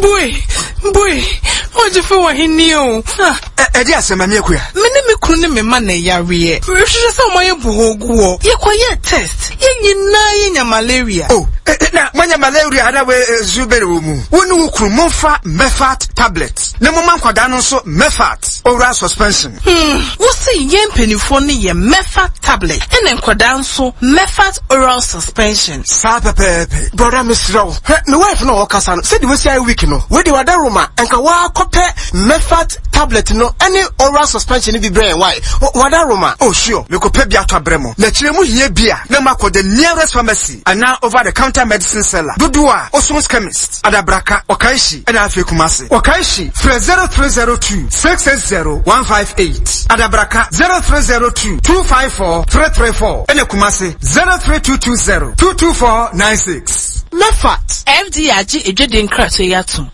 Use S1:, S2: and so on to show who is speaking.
S1: Bue! Bue! Ɔgyefo wɔ he ni o? Ah.
S2: Ɛde asɛm, Maame Akua.
S1: Me ne me kunu ne me mma na ɛyareɛ. Mehwehwɛ sɛ wɔayɛ bohɔ gu hɔ. Yɛkɔyɛɛ test. Yɛn nyinaa yɛnya malaria.
S2: Oh, na moanya malaria ana wei nsu bɛn wɔ mu? Wo ne wo kunu momfa Mefat tablet na momma nkwadaa no nso Mefat oral suspension.
S1: Hmm, wo se yɛn mpanimfoɔ no yɛ Mefat tablet ɛna nkwadaa nso Mefat oral suspension.
S2: Saa pɛpɛɛpɛ.
S3: Brɔda mesrɛ wo, hwɛ me wife no a ɔkasa no, sɛdeɛ wasi ayɛ week no, wei deɛ wada Roma, nka woakɔpɛ Mefat tablet no ɛne oral suspension no bi brɛ yɛn why? Wada Roma.
S2: Oh sure, mekɔpɛ bi atɔ abrɛ mo. Na kyerɛ mu hia bi a, na moakɔ the nearest pharmacy anaa over the counter medicine seller dodoɔ a, Oson's chemist, Adabraka, Okaishie ɛna afei Kumasi. Okaishie, frɛ 0302 660 158, Adabraka 0302 254 334 ɛna Kumasi 03220 224 96.
S3: Mefat.
S1: FDA agye adwadie nkratoɔ yi atom.